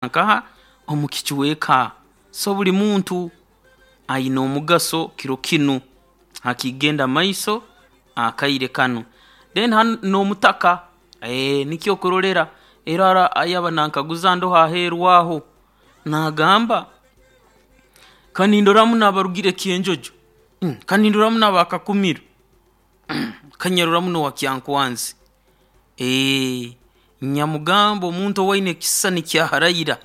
Nkaha omu kicweka. So buli muntu aine omugaso kiro kinu hakigenda maiso akaire kanu. Then hanu n'omutaka, nikyo okurorera era ayaba nankaguza ndoho aheeru aho, naagamba kanindora muno abarugire Kyenjojo, kanindora muno aba Kakumiro, kanyarora muno owa Kyankwanzi. Nyamugamba omuntu owaine ekisisani kya Raila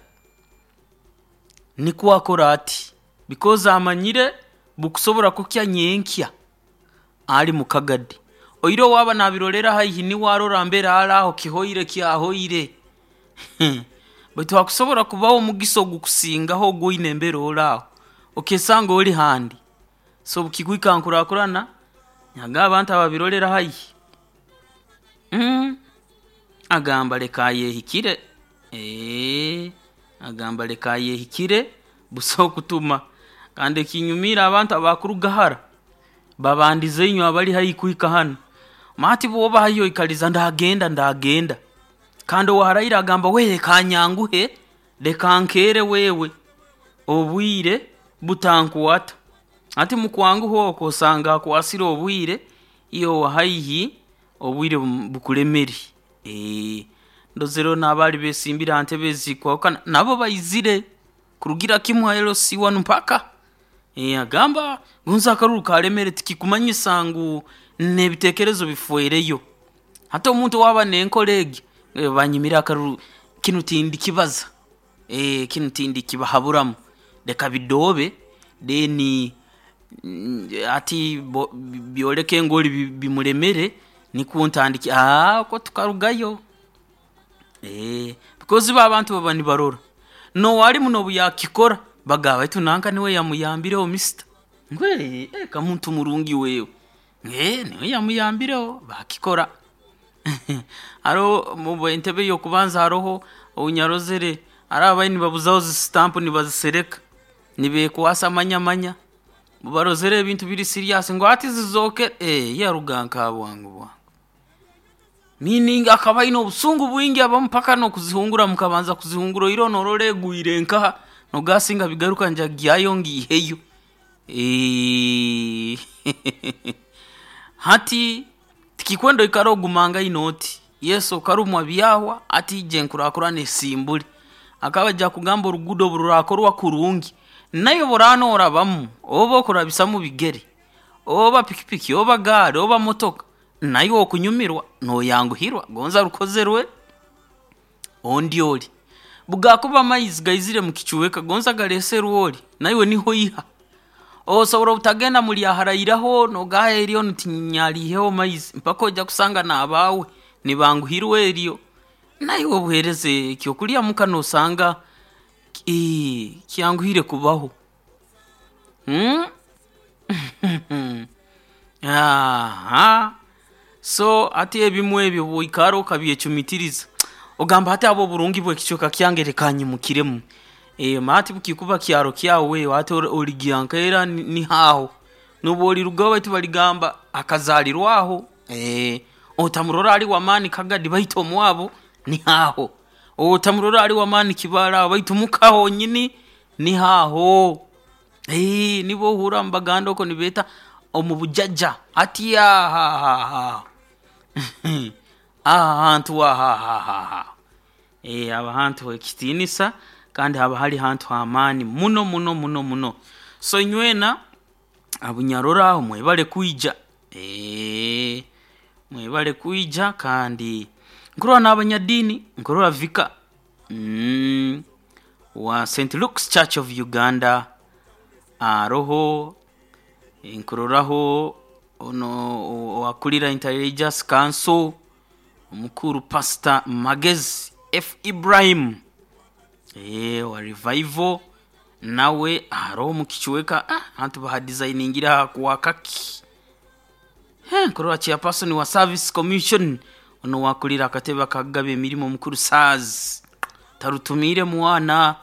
nikwo akora ati because amanyire bukusobora kukya nyenkya ali mu Kagadi, oihireho waaba naabirorra haihi niwe arora mbere ali aho kihoire kyahoire baitu hakusobora kubaho omugisa ogukusingaho ogu oine mbere oli aho, okeesanga oli handi. So obu kikuhika ha nkuraakurana, nagamba abantu ababirorera haihi, agamba leka ayeehikire, agamba leka ayehikire busaho kutuma. Kandi ekinyumiire abantu abakuruga hara, babandize inywe abali haihi kuhika hanu. Hati bw'oba haihi oikaliza ndagenda ndagenda, kandi owa Raila agamba we leka nyanguhe, leka nkeere wewe obwire butankwata. Hati mukwanguha oku osanga akwasire obwire, iwe owa haihi obwire bukulemere. Ndozereho n'abaali beesimbire ha ntebe ezikwahukana nabo baizire kurugira kimu ha LC1 mpaka. Agamba gonze akaruru kaalemere tikikumanyisa ngu n'ebiteekerezo bifwereyo. Hati omuntu owaaba n'enkora egi, banyimire akaruru kinu tindikibaza, kinu tindikibahaburamu, leka bidoobe then hati byoleke ngu ori bimulemere nikwo ntandike, okwo tukarugayo. Because bo abantu baba nibarora, n'owaalimu n'obu yaakukikora bagamba baitu nanka niwe yamuyambireho mister, ngu eka muntu murungi wewe, niwe yamuyambireho baakikora. Haroho omu entebe ey'okubanza haroho ou nyarozere haroho ababaire nibabuzaho zi stamp nibazisereka, nibeekwasa manya manya, obu baarozere ebintu biri serious ngu hati zizookere, yaruga nkaha bwangu bwangu. Meaning akaba aine obusungu bwingi abamu mpaka n'okuzihungura mukabanza kuzihungura oihireho noorora egwire nkaha, nogamba singa bigaruka nyija kugyayo ngiiheyo. Hati tikikwenda oikale ogumangaine oti, yes okarumwa byahwa, hati ija enkuraakurana esimbule. Akaba aija kugamba oruguudo obu ruraakorwa kurungi, naiwe obu oraaba noorabamu, oba okurabisamu bigere, oba pikipiki, oba gaari, oba motoka, naiwe okunyumirwa nooyanguhirwa gonza rukozerwe ondi ori. Obu gaakuba amaizi gaizire mukicweka gonza galeeserwe ori, naiwe niho oiha. Osobora obutagenda murya Raila nogamba eryo tinyaliiheho maizi mpaka oija kusanga n'abaawe nibanguhirwa eryo, naiwe obuheereza ekyokurya muka noosanga kyanguhire kubaho. So hati ebimu ebi obu oikara okabyecumiitiriza, ogamba hati habw'oburungi bw'ekicweka kyange leka nyimukiremu. Hati obu kikuba kyaro kyawe hati origya nkaera niho aho, nobu orirugaho baitu baligamba akazaalirwa aho, otamurora ali w'amaani Kagadi baitu omwabu niho aho, otamurora ali w'amaani Kibaale aho baitu muka honyini niho aho. Nibo ohurra nibaganda okwo nibeeta omu bujaja hati aho aho, aho ahantu aho aho, haba hantu h'ekitiinisa kandi haba hali hantu h'amaani muno muno muno muno. So inywena abu nyarora aho mwebale kwija, mwebale kwija kandi nkurora n'abanyadiini, nkurora Vicar wa St. Luke's Church of Uganda aroho, nkuroraho onu owaakulira Inter Religious Council omukuru Pastor Magezi F. Ibrahim owa Revival nawe aroho omu kicweka, abantu bahadesigningireho hakwakaki. Nkurora chairperson wa Service Commission onu owaakulira akatebe akakugaba emirimo omukuru Saz Tarutumiire Mwana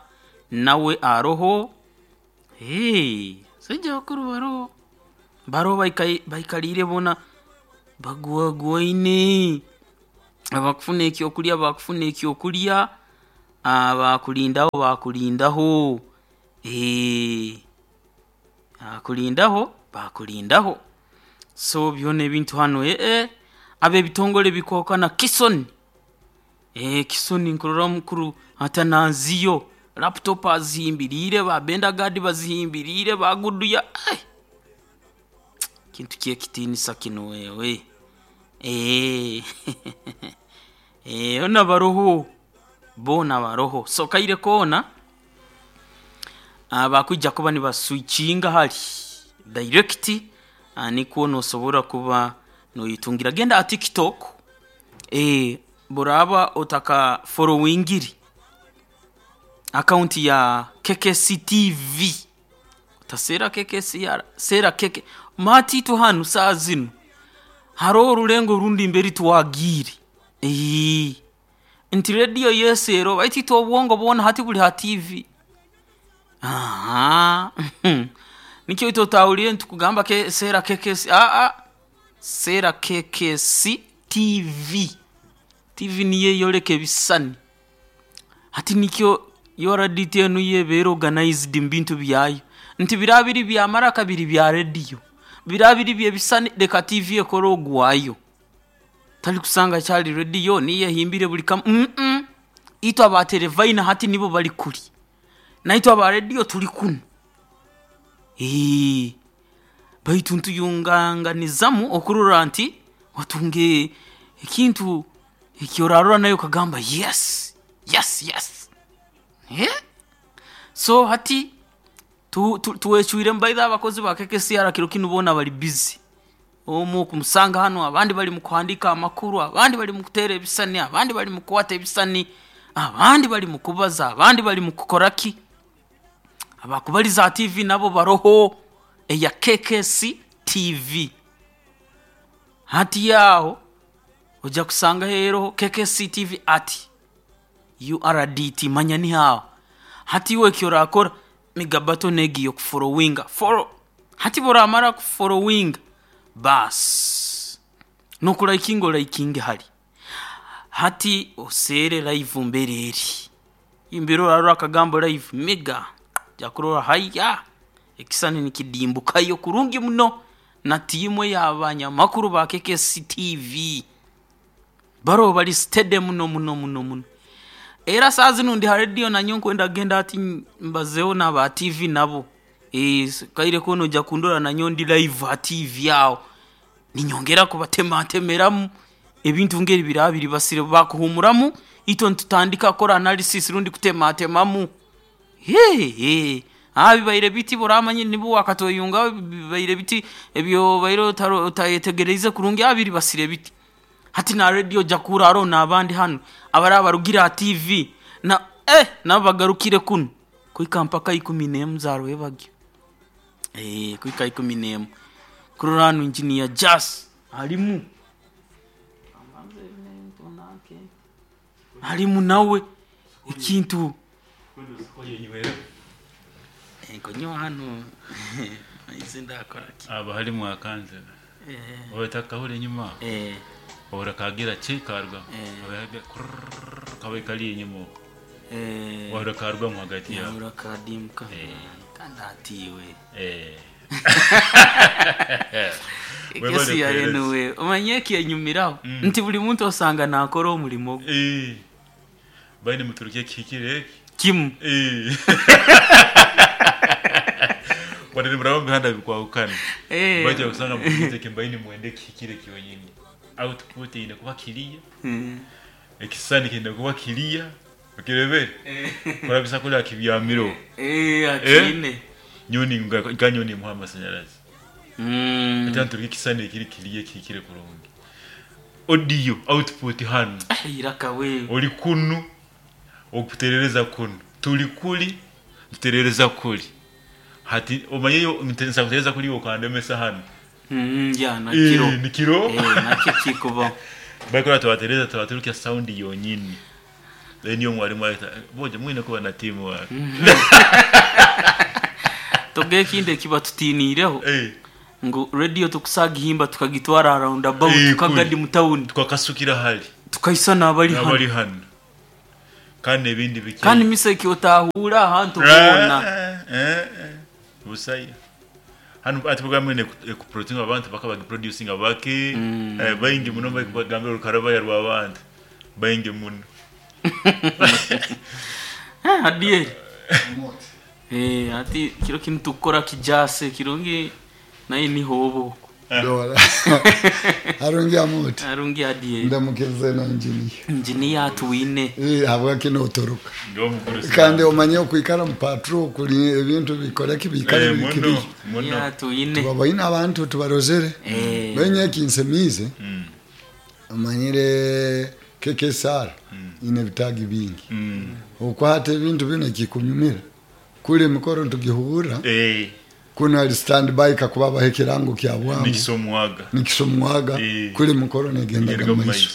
nawe aroho, abasaija abakuru baroho, baroho baikaliire boona bagwagwaine, abakufuna ekyokurya baakufuna ekyokurya. Bakulindaho bakulindaho, eh, bakulindaho bakulindaho. So byona ebintu hanu ab'ebitongore bikwahukana Kisoni, Kisoni nkurora omukuru atananziyo, laptop azihimbiriire, ba Benda Guard bazihimbiriire, ba Guduya, kintu ky'ekitiinisa kinu wewe. Boona baroho, boona baroho. So kaire koona bakwija kuba nibaswitchinga hali direct, nikwo noosobora kuba nooyetungira. Genda ha TikTok, bworaaba otakafollowingire account ya KKC TV, otaseera KKCR, seera KK. Mati itwe hanu saaha zinu haroho orulengo orundi mbere twagiire, nti radio yes eroho baitu itwe obwongo bwona hati buli ha TV. Nikyo itwe otahuliire nitukugamba seera KKC, seera KKC TV. TV niyo eyoleka ebisisani. Hati nikyo URDT enu yo ebeera organized mubintu byayo, nti biraaba biri bya maraka biri bya radio, biraaba biri by'ebisisani leka TV ekore ogwayo. Tali kusanga kyali radio niyo ehimbire buli kamu, itwe aba Terefayina hati nibo bali kuri, naitwe aba radio tuli kunu. Baitu ntuyunganganizamu okurora nti watunga ekintu eki oraarora naiwe okagamba yes, yes, yes. So hati twecwiremu by the way abakozi ba KKCR kiro kinu boona bali busy. Omu okumusanga hanu, abandi bali mukuhandiika amakuru, abandi bali mukuteera ebisisani, abandi bali mukukwata ebisisani, abandi bali mukubaza, abandi bali mukukoraki. Abakubaliza ha TV nabo baroho eya KKC TV. Hati aho oija kusangaho eroho KKC TV at URDT manya niho aho. Hati iwe eki oraakora miga button egi ey'okufollowinga, follow. Hati obu oraamara kufollowinga, baasi n'okulaikinga olaikinge hali. Hati oseere live mbere eri, mbere oraarora akagambo live miga, oija kurora haiya ekisisani nikidimbukayo kurungi muno na tiimu ey'abanyamakuru ba KKC TV. Baroho bali steady muno muno muno muno. Era saaha zinu ndi ha radio nanyowe nkwenda kugenda hati mbazeeho n'aba TV nabo, kaire koona oija kundora nanyowe ndi live ha TV aho, ninyongera kubatematemeramu ebintu ngeri biraaba biribasire. Bakuhuumuramu itwe nitutandika kukora analysis rundi kutematemamu. Bibaire biti obu oraamanya nibwo waakatweyungaho bibaire biti ebi obaire otayetegeriize kurungi biribasire biti. Hati na radio oija kuhurra haroho n'abandi hanu abaraaba barugire ha TV, nabo bagarukire kunu kuhika mpaka 11 za rwebagyo, kuhika 11. Kurora hanu Engineer Jas arimu, arimu nawe ekintu. Nkunywa hanu amaizi ndaakoraki. Haba harimu akanze otakahura enyuma ohura kagira ki karugamu kabaire kari enyuma okwo wahurra karugamu hagati aho. Nahurra kadimbuka kandi hati iwe. Webale Ekesi ya kuheereza. anyway, omanyire ekyenyumiraho nti buli muntu osanga naakora omurimo gwe. Baine muturuki ekihikire eki. Kimu. Wadde muraba omu mihanda bikwahukana. Baitu okusanga muturuki mbaine mwenda ekihikire kyonyini. Output eine kuba kiriya, ekisisani kiine kuba kiriya, okirebere? Kurabisa kuri akibyamireho. Akiine. Nyowe nka nyowe nimuha amasanyarazi. Hati nturuka ekisisani ekiri kiriya ekihikire kurungi. Audio output hanu. Iraka we. Ori kunu, okuterereza kunu. Turi kuri, tuterereza kuri. Hati omanyire nsobola kutereza kuri iwe okandemesa hanu. Ya nakiro. Nikiro. Nakyo kikubaho. Bakora tubatereza tubaturukya sound yonyini. Then niyo mwarimu ahita boje mwine kuba na team work. Toga ekindi ekibatutiniireho ngu radio tukusagihimba tukagitwara round about tukagadi mu town. Tukakasukira hali. Tukaisa n'abali hanu. N'abali hanu. Kandi ebindi bike. Kandi miseke otahura ahantu hona. Busaya hano ati bugamwe ekuproducinga abantu bakaba bagiproducinga bake, baingi muno bakugambira orukarabaya rw'abantu baingi muno. Adieri ati kiro kinu tukora kijase kirungi naye niho obo. Dora harungi amuti. Harungi adieri. Ndamukirize na injiniya. Injiniya atuwine. Habwaki notoroka? Ndiwo mukuru. Kandi omanye okwikara mu patrol kuri ebintu bikoreki bikare bikiri. Muno. Atuwine. Tubabaine abantu tubarozere. Benye kinsemize. Omanyire KKSR ine bitagi bingi. Okwata ebintu bino kikunyumira. Kule mikoro tugihura. Kuna ali stand by kakuba bahe kirango kya bwangu. Nikisomwaga. Nikisomwaga. Kule mukoro negendaga mu maiso.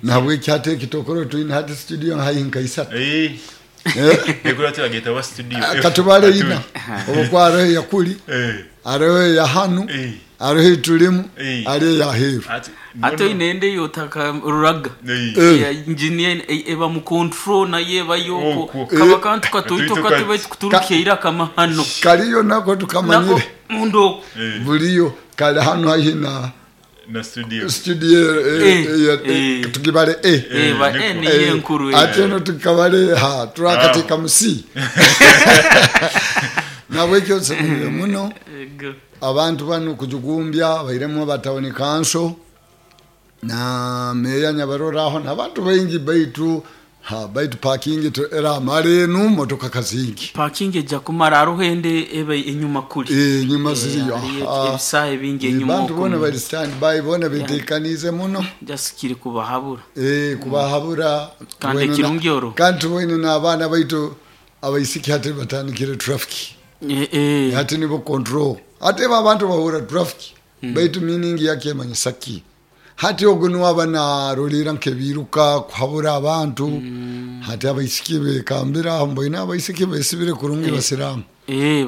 Nabwe kyate kitokoro twin hati studio hayi nkaisatu. Ekura tugeta wa studio. Katubale ina. Obukwaro yakuli. Arohe ya hanu. Arohe tulimu. Arohe ya heru. Ato inende yotaka ruraga. Ya engineer eba mu control na yeba yoko. Kaba kantu katoito katiba kuturukeira kama hano. Kaliyo nako tukamanyire. Mundo. Buliyo kali hano hayi na na studio. Studio tukibale ba ni yenkuru. Ate no tukabale ha turakatika musi. Nabwekyo nsemire muno. Abantu bano kujugumbya bairemu batawuni kanso na meya nyabaroraho n'abantu baingi baitu ha baitu parking to era marenu motoka kazingi. Parking ejja kumara aruhende ebe enyuma kuli. Enyuma ziriyo. Ebisahe bingi enyuma. Abantu bona bari stand by bona bitekanize muno. Just kiri kubahabura. Kubahabura. Kandi kirungioro. Kandi tubone n'abana baitu abaisiki hati batandikire traffic. Hati nibo control. Ate abantu bahura traffic. Baitu meaning yake manyisaki. Hati ogunu abana rolira nkebiruka kuhabura abantu. Hati abaisiki bekambira mboina abaisiki besibire kurungi basiramu.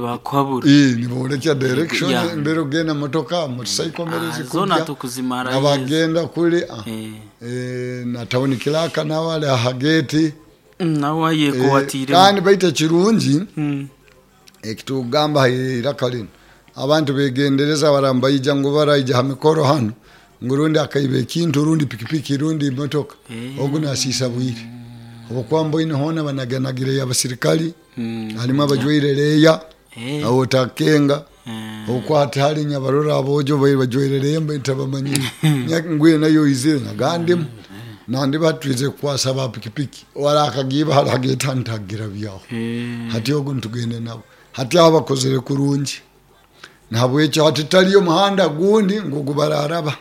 Bakuhabura. Nibolekya direction mbere ogenda motoka motorcycle merezi zona tukuzimara. Abagenda kule na town kilaka na wale hageti. Nawa yekuwatire. Kandi baita kirungi. Ekitugamba irakalino. Abantu begendereza barambayija ngo baraija ha mikoro hano ngurundi akaibe ekintu rundi pikipiki rundi motoka ogu nasisa bwire obukwambo ine hona banaganagire y'abasirikali harimo abajwaire leya awo takenga okwata hari nyabarora abojo bajwaire leya mbatabamanyire ngwe nayo izire nagandemu nandi batwize kwasa ba pikipiki warakagiba haragetantagira byaho hati ogu ntugende nabo hati abakozere kurungi nabwekyo hati taliyo muhanda gundi ngugubararaba.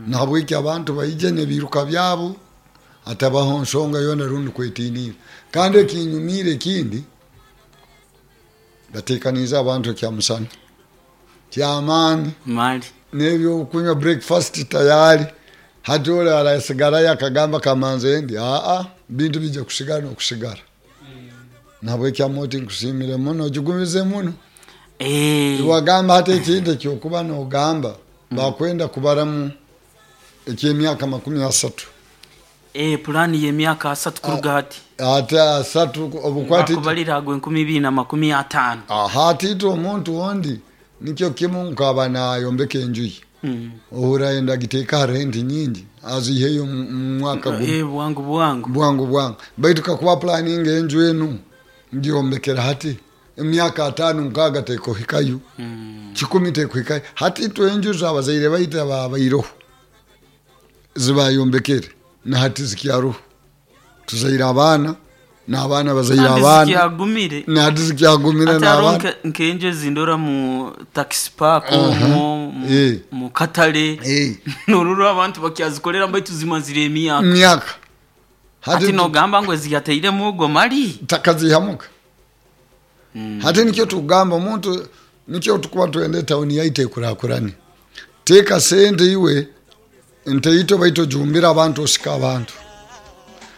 Nabwekyo abantu baije nebiruka byabo atabaho nsonga yona rundi kwetinira. Kandi ekinyumire kindi batekaniza abantu kya musana kyamaani mali nebyo kunywa breakfast tayari. Hati ole arasigara yakagamba kamanze ndi bintu bijja kusigara no kusigara. Nabwekyo amoti nkusimire muno jugumize muno. Wagamba hata ekindi ekyokuba nogamba bakwenda kubaramu ekyemyaka 30. Plani y'emyaka 30 kuruga hati. Ate 30 obukwati kubalira gwe 2025. Hati ito omuntu wondi nikyo kimu nkaba nayombeka enju. Ohura enda giteka rent nyingi aziheyo mwaka gumu. Bwangu bwangu. Bwangu bwangu. Baitu kakuba planning enju enu ndiyombekera hati. Emyaka 5 nkaga tekohikayo. 10 tekohikayo. Hati twenju zabazaire baita babairoho. Zibayombekere na hati zikyaruho. Tuzaira abana na abana bazaira abana. Zikyagumire. Na hati zikyagumire na abana. Nkenje zindora mu taxi park mu katale. Noruro abantu bakyazikolera mbai tuzimazire emyaka. Myaka. Hati nogamba ngo ziyateire mugo mali. Takazihamuka. Hati nikyo tugamba omuntu nikyo tukuba tuende town yaite kurakurani. Teka sente iwe nteito baito jumbira abantu osika abantu.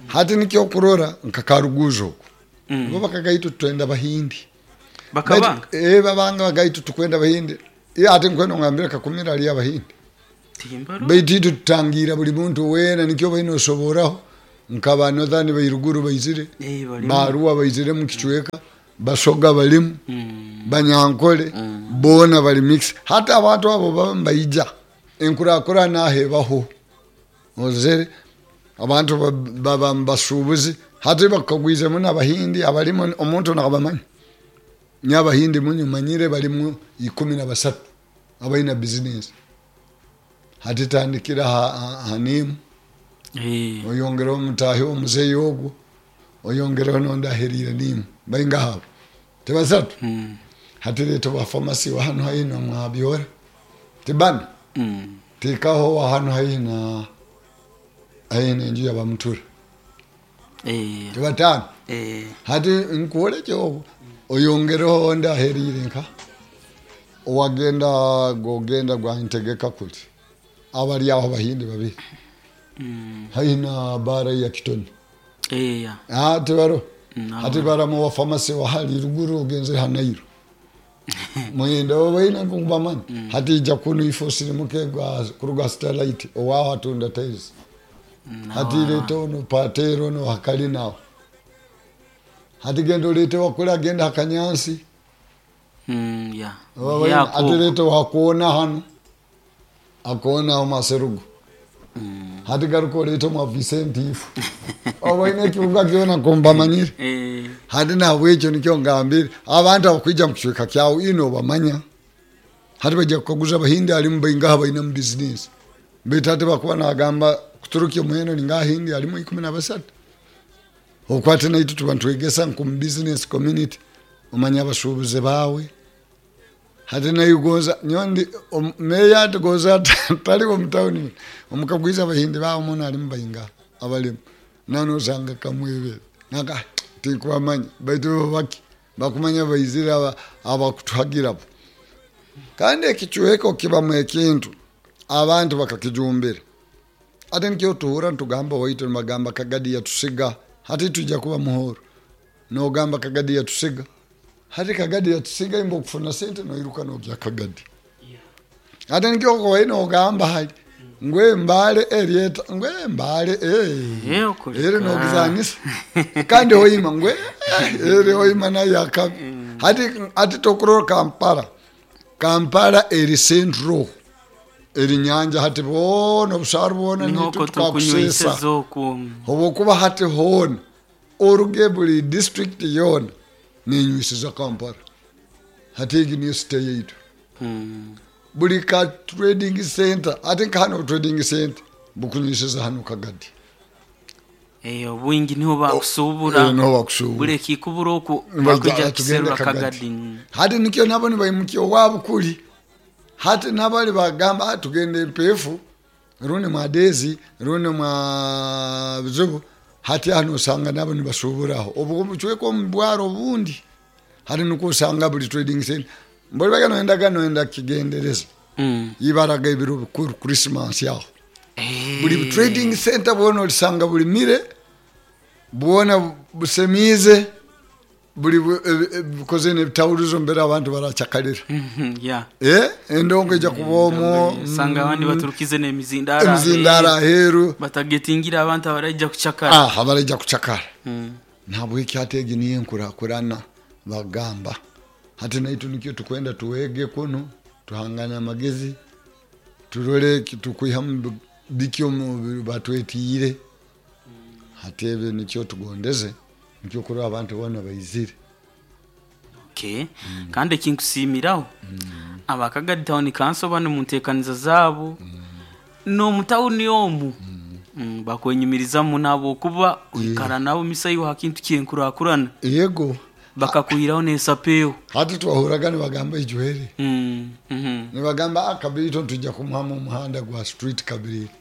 Hati nikyo kurora nkakaruguzo. Bo bakagaito tuenda bahindi. Bakabanga. Babanga bagaitu tukwenda bahindi. Ate nkwenda ngambira kakumira ali abahindi. Timbaro. Baititu tutangira buli muntu wena nikyo baino osoboraho. Nkaba Northern bairuguru baizire, Eh, balimu. Baruwa baizire mu kicweka, Basoga balimu, Mm. Banyankole boona bali mix. Hati abantu abo baba nibaija enkurakurana aho ebaho, ozere abantu baba mubasuubuzi. Hati bakagwizemu n'Abahindi abalimu, omuntu nabamanya. Nyowe Abahindi munyu manyire balimu 13 abaina bizinesi. Hati tandikira ha Nimu, Eh. oyongereho mutahi omuzeeyi ogwo, oyongereho n'ondi aheriire Nimu, baingaha abo? Tibasatu? Mm. Hati leeta owa famasi wa hanu haihi na Mwabyora, tibana? Mm. Teekaho owa hanu haihi na haihi n'enju ya Bamutura, Eh. tibatano? Eh. Hati nkuolekye obwo, oyongereho ondi aheriire nka owagenda gogenda gwantegeka kuli abali aho Bahindi babiri Mm. haihi na bara ya Kitoni. Eh, ya. Tibaro? Mm, Hati baramu wa famasi wa hali ruguru ogenzere hanairo mwenda obaina nkubamanya. Hati ija kunu ifo sirimuke gwa kuruga Starlight owaho atunda tiles. Hati leta ono patero ono hakali nawo. Hati genda olete wakula genda hakanyansi. Mm, ya. Obaina, Yako. hati leta wakuona hano akuona aho maserugo. Hati garuka olete mwa Vicente ifo obaina ekibuga kyona kumbamanyire. Eh. Hati nabwekyo nikyo ngambire abantu abakwija mu kicweka kyawe ino obamanya. Hati bajja kukaguza Abahindi alimu baingaha baina mu bizinesi, baitu hati bakuba nagamba kuturukya omuhendo ninga Ahindi alimu 13. Okwate naitu tuba nitwegesa nkomu business community, omanya abasuubuzi baawe. Hati naigonza nyondi meya atigonza taliwo mu tawuni, omukagwiza Abahindi baawe muno alimu baingaha abalimu nanosanga kamwebere naka tinkubamanya, baitu bo baki bakumanya baizire abakutuhagirabo. Kandi ekicweka kibamu ekintu abantu bakakijumbira. Ate nikyo tuhura nitugamba waitu nibagamba Kagadi yatusiga, hati tujja kuba muhoro nogamba Kagadi yatusiga. Hati Kagadi yatusiga imba okufuna sente noiruka nogya Kagadi. Ate nikyo kowe nogamba hali ngwe mbale erieta ngwe mbale Eh, okuleka. ere nogizanisa kandi hoima ngwe ere hoima nayo akabi. Hati tokurora Kampala, Kampala eri central eri nyanja, hati boona obusaru bwona Niho nitwe ko tukunywisa tukakusesa z'oku. obwokuba hati hoona oruge buli district yoona nenywisiza Kampala. Hati egi niyo city yaitu. Mm. Buli ka trading center, ate nka hano trading center bukunywisiza hano Kagadi. Eh, obwingi niho bakusuubura. Eh, niho bakusuubura. Buli ekikubura oku Nibaija, bakwija "Ah, tugende kuserura Kagadi." Kagadi. Hati nikyo nabo nibaimukya owaabo kuli. Hati nabali bagamba, ah, tugende empeefu rundi mwa Dezi rundi mwa Bizibu. Hati hano osanga nabo nibasuuburaho obwo bucweka omu bwaro obundi. Hati nikwo osanga buli trading center mboli baga noendaga noenda kigendereza. Mm. Ibaraga ebiro bikuru Christmas aho. Eh. Buli trading center bwona olisanga buli mire bwona busemize buli bukoze n'ebitawulizo mbere abantu baracakalira. Mhm, ya. Endongo ija kuba omwo, Sanga abandi baturukize n'emizindara. emizindara aheeru. Batagetingira abantu abaraija kucakara. Abaraija kucakara. Mm. Nabwekyo ate egi niyo enkurakurana bagamba. Hati naitu nikyo tukwenda tuwege kuno, tuhangane amagezi, turole tukwihamu biki omu batwetiire. Hati ebyo nikyo tugondeze, nikyo kurora abantu boona baizire. Okay. Kandi ekinkusiimiraho Abakagadi Town Council bano mu nteekaniza zaabo n'omutawuni omu bakwenyumirizamu nabo okuba oikara nabo misaiho ha kintu kyenkurakurana. Yego. Bakakuhiraho n'esapeewo. Hati twahuraga nibagamba ijwere. Mm. Mhm. Nibagamba Kabirito tujja kumuhamu omuhanda gwa street Kabirito.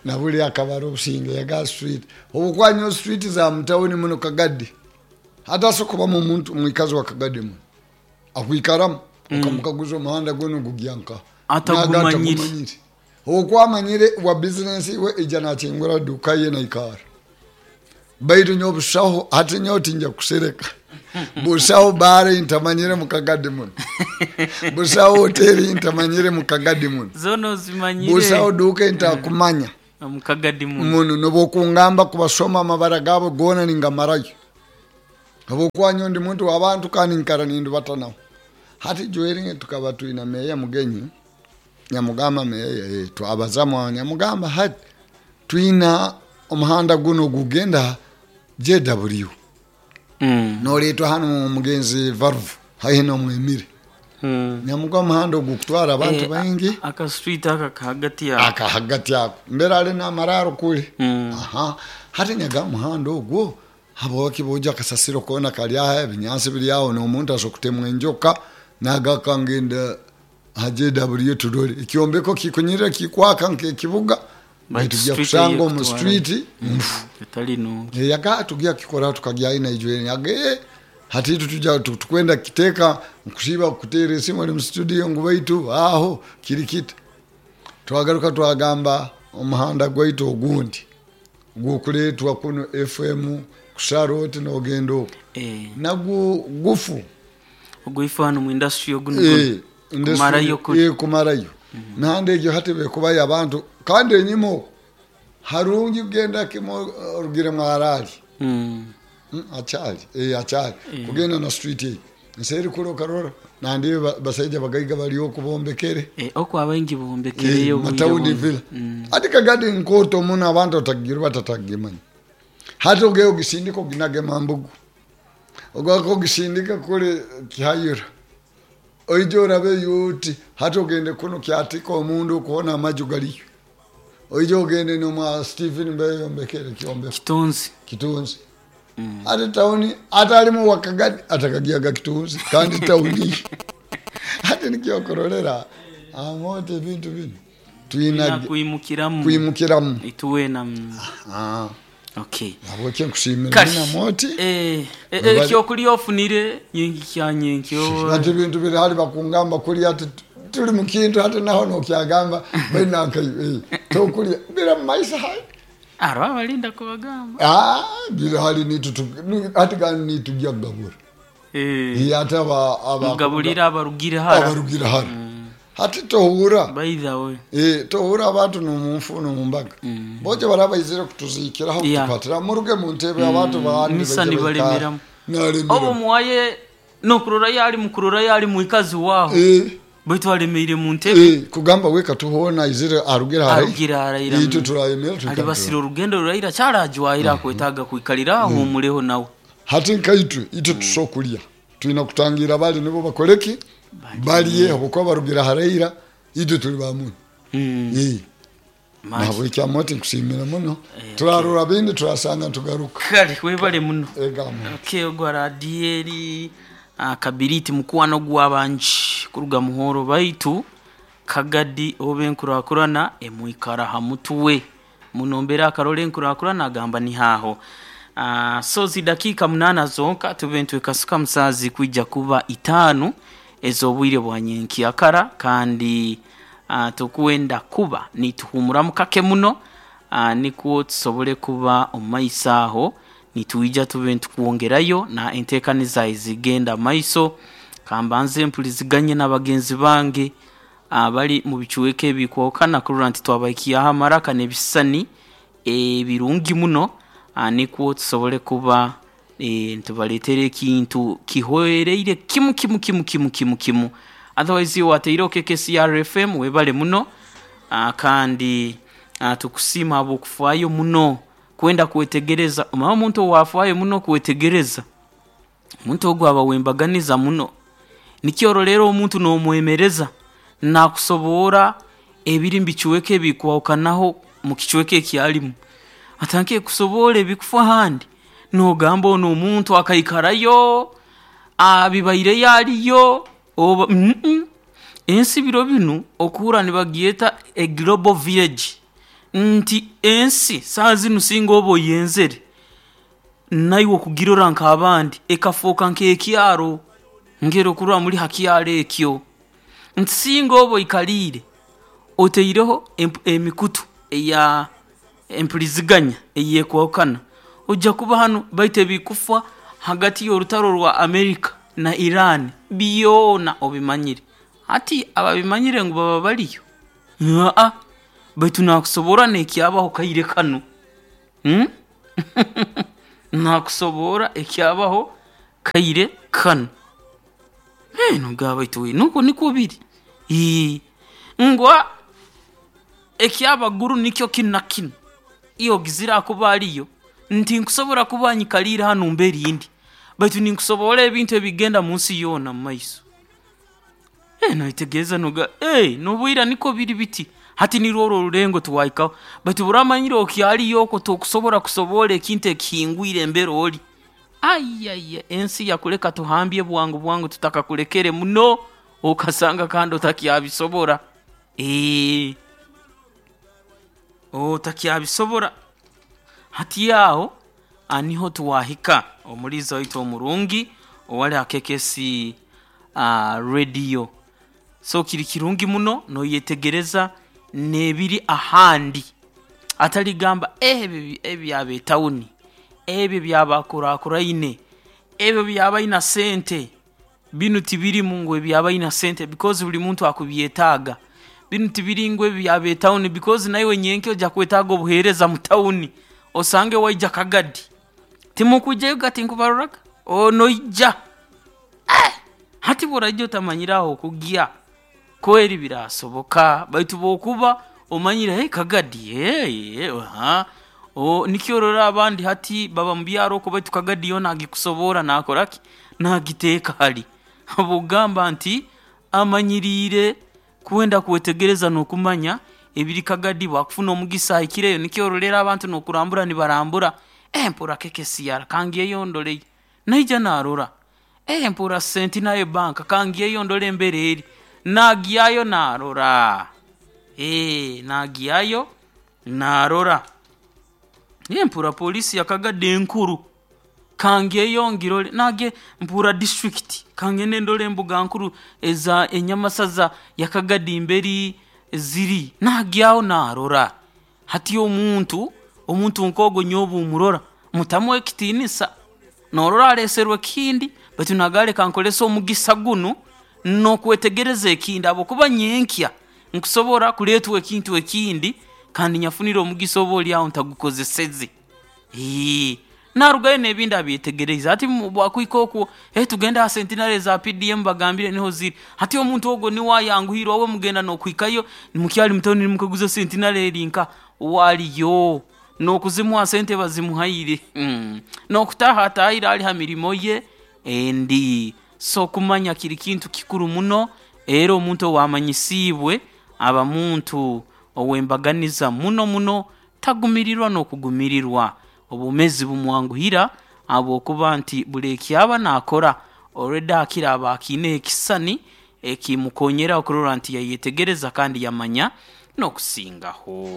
Na buli akabara obusinge yaga street. Obukwanyo street za mutawuni muno Kagadi. Hata so kuba mu muntu mwikazi wa Kagadi muno. Akwikaramu okamukaguza omuhanda gono gugyanka. Atagumanyire. Atakumanyire. Okwamanyire wa business we ija nachingura duka ye naikara. Baitu nyo busaho hati nyo tinja kusereka. Busaho bare ntamanyire mu Kagadi muno. Busaho hoteli ntamanyire mu Kagadi muno. Zono zimanyire. Busaho duka ntakumanya. Omukagadi muno. Muno nobwokungamba kubasoma amabara gabo goona ningamarayo, habwokuba nyowe ndi muntu w'abantu kandi nkara nindubata nabo. Hati Joel tukaba twina meya Mugenyi, nyamugamba meya, twabazamu aho, nyamugamba hati twina omuhanda guno gugenda JW, noletwa hanu omugenzi Valve haihi n'omwemire. Nyamugamba omuhanda ogu kutwara abantu baingi. Aka street aka kahagati yako. Aka hagati ako mbere ali n'amararo kuli. Aha, hati nyaga omuhanda ogwo habwaki boja akasasiro koona kali aho, ebinyansi biri aho, n'omuntu asobola kutemwa enjoka nagaka ngenda ha JW turole ekyombeko kikunyirira kikwaka nk'ekibuga, Baitu tujja street kusanga omu eyekutwara. street nfu. Etali nungi. Yaga tujja kukora tukagyayo naijwe yaga, hati itu tujja tukwenda kiteeka nkusiiba kuteera esimu ali mu studio ngu baitu aho kiri kita. Twagaruka twagamba omuhanda gwaitu ogundi gukuleetwa kuno FM kusara oti nogenda okwo, nagwo gufu. Ogwifu hano mu industry oguno guno. Kumarayo kuri. Kumarayo mihanda egyo hati bekubayo abantu kandi enyima okwo harungi kugenda kimo orugire mwarali. Akyali, akyali kugenda na street eyi nseeri kule okarora nandi basaija bagaiga bali okubombekere. Okwo abaingi bombekereyo obwire matawuni buno. Villa ati Kagadi nkoto muno abantu otagirwa batatagimanya. Hati ogeyo ogisindika oginage Mambugu, ogaka ogisindika kule Kihayura, oije orabe uti hati ogende kuno Kyatika omundu okuona amaju galiyo, oije ogende nomwa Stephen Mbeyo yombekere kyombeko. Kitunzi. Kitunzi. Ati tauni ate alimu Wakagadi atakagiaga Kitunzi kandi tauni. Hati nikyokurorera amote ebintu bino Twina twina kwimukiramu. kwimukiramu. Ituwena. Okay. Habweki nkusiimira Kati, muno moti. Ekyokulya ofunire nyingi kya nyenkyo. Ati ebintu biri hali bakungamba kulya ati tuli mukintu hati naho nokyagamba bainankayo tokulya bira mumaiso hai. Aro abalinda kubagamba. Ah, biri hali nitu hati kandi nitujya kugabura. Ate Mugabulira abarugire hara. Abarugira hara. Hati tohura. By the way. Tohura abantu nomunfu nomumbaga. Boje barabaizire kutuzikiraho kutukwatira muruge mu ntebe abantu bandi Misa baije nibalemeramu. baikara. Obo muwaye nokurora yali mukurora yali muikazi waho. Baitu alemeire mu ntebe. Kugamba weka tuhona izire arugira hara. Arugira hara. Itu turayemera tukabura. Alibasira orugendo ruraira kyarajwaira kwetaga kwikalira ahumuleho nawe. Hati nkaitwe itwe tusokulya twina kutangira bali nibo bakoleki baliye habwokuba barugira haraira itwe tuli bamuno. Nabwo moti nkusiimira muno turarora bindi turasanga tugaruka. Kale webale muno. Egamo. Okay, ogwa radieri Kabiriti mukwano gw'abangi kuruga Muhoro baitu Kagadi obe enkurakurana emwikara ha mutuwe munombera akarole enkurakurana agamba ni haho. So zidakika 8 zonka tube ntwekasuka musazi kwijja kuba 5 ez'obwire bwa nyenkyakara kandi tukwenda kuba nituhumuramu kake muno, nikwo tusobole kuba omumaiso aho nitwija tube ntukwongerayo na enteekaniza ezigenda maiso. Kambanze mpuliziganye n'abagenzi bange abali mu bicuweka ebikwokana kurora nti twabahikiyaho amaraka n'ebisisani ebirungi muno, nikwo tusobole kuba ntubaleetera ekintu kihwereire kimu kimu kimu kimu kimu kimu. Otherwise wateire KKCR FM webale muno, kandi tukusiima habw'okufaayo muno kwenda kwetegereza. Omanye omuntu owafaayo muno kwetegereza, omuntu ogwo aba wembaganiza muno. Nikyo rero omuntu n'omwemereza nakusoboora ebiri mu bicuweka ebikwahukanaho mu kicweka eki alimu. Atanke kusoboora ebikufa ahandi nogamba ono omuntu akaikarayo abibaireyo aliyo oba Ensi biro binu okuhura nibagyeta a global village nti ensi saaha zinu singa oba oyenzere naiwe okugirora nk'abandi ekafooka nk'ekyaro ngero okurora muri ha kyaro ekyo nti singa oba oikaliire oteireho emikutu eya empuliziganya eyekwahukana ojja kuba hanu baitu ebikufa hagati y'orutaro rwa Amerika na Iran byona obimanyire. Hati ababimanyire ngu baba baliyo. Baitu nakusobora n'ekyabaho kaire kanu. Nakusobora ekyabaho kaire kanu. Nogamba baitu we nukwo nikwo biri. Ngwa ekyabaguru nikyo kinu na kinu. Iwe ogizire akuba aliyo nti nkusobora kuba nyikaliire hanu mbere indi, baitu ninkusoborra ebintu ebigenda munsi yoona mumaiso. Noyetegereza noga nobwira nikwo biri biti, hati nirwo oru orulengo twahikaho. Baitu obu oraaba omanyire okyaliyo okwo tokusobora kusoborra ekintu ekihingwire mbere ori, aiyaiya ensi yakuleka tuhambye bwangu bwangu tutakakulekere muno, okasanga kandi otakyabisobora. Otakyabisobora. Hati aho niho twahika omuliiza waitu omurungi owali ha KKC radio. So kiri kirungi muno noyetegereza n'ebiri ahandi, hatali kugamba ebi eby'ab'etawuni, ebi eby'abakurakuraine, ebi eby'abaina sente, binu tibirimu ngu eby'abaina sente because buli muntu akubyetaaga. Binu tibiri ngu eby'ab'etawuni because naiwe nyenkya oija kwetaaga obuheereza mu tawuni, osange waija Kagadi, timukwijayoga tinkubaroraga? Noija, hati obu oraija otamanyire ah'okugya, kweri biraasoboka baitu obu okuba omanyire Kagadi, nikyo orora abandi hati baba mubyaro oku baitu Kagadi yoona agikusoborra naakoraki? Naagiteeka hali. Habw'okugamba nti amanyiriire kwenda kwetegereza n'okumanya ebiri Kagadi bwakufuna omugisa ahikireyo nikyo oroleera abantu n'okurambura nibarambura, mpurra KKCR kangiireyo ndoreyo, naija naarora, mpurra Centenary Bank kangiireyo ndole embera eri, naagyayo naarora, naagyayo naarora. Mpurra poliisi ya Kagadi enkuru, kangyeyo ngirore, mpurra disiturikiti kangende ndole embuga nkuru eza enyamasaza ya Kagadi mberi ziri, naagyaho naarora. Hati omuntu, omuntu nk'ogu nyowe obu murora, mutamu ekitiinisa, noorora aleeserwe ekindi baitu naagamba leka nkozese omugisa gunu n'okwetegereza ekindi habwokuba nyenkya nkusobora kureetwa ekintu ekindi kandi nyafunire omugisa oba oli aho ntagukozeseze. Naarugayo n'ebindi abyetegereize. Hati obu akuhika okwo, tugende ha Centenary eza PDM bagambire niho ziri. Hati omuntu ogwo niwe ayanguhirwa we mugenda n'okuhikayo mukyali mu tawuni nimukaguza Centenary eri nkaha? Waliyo, n'okuzimuha sente bazimuhaire, n'okutaaha ataahire ali ha mirimo ye endi. So okumanya kiri kintu kikuru muno, era omuntu owaamanyisiibwe aba muntu ow'embaganiza muno muno, tagumirirwa n'okugumirirwa. Obwomeezi bumwanguhira habwokuba nti buli eki aba naakora, already akira aba akiineho ekisisani ekimukonyera okurora nti yayetegereza kandi yamanya n'okusingaho.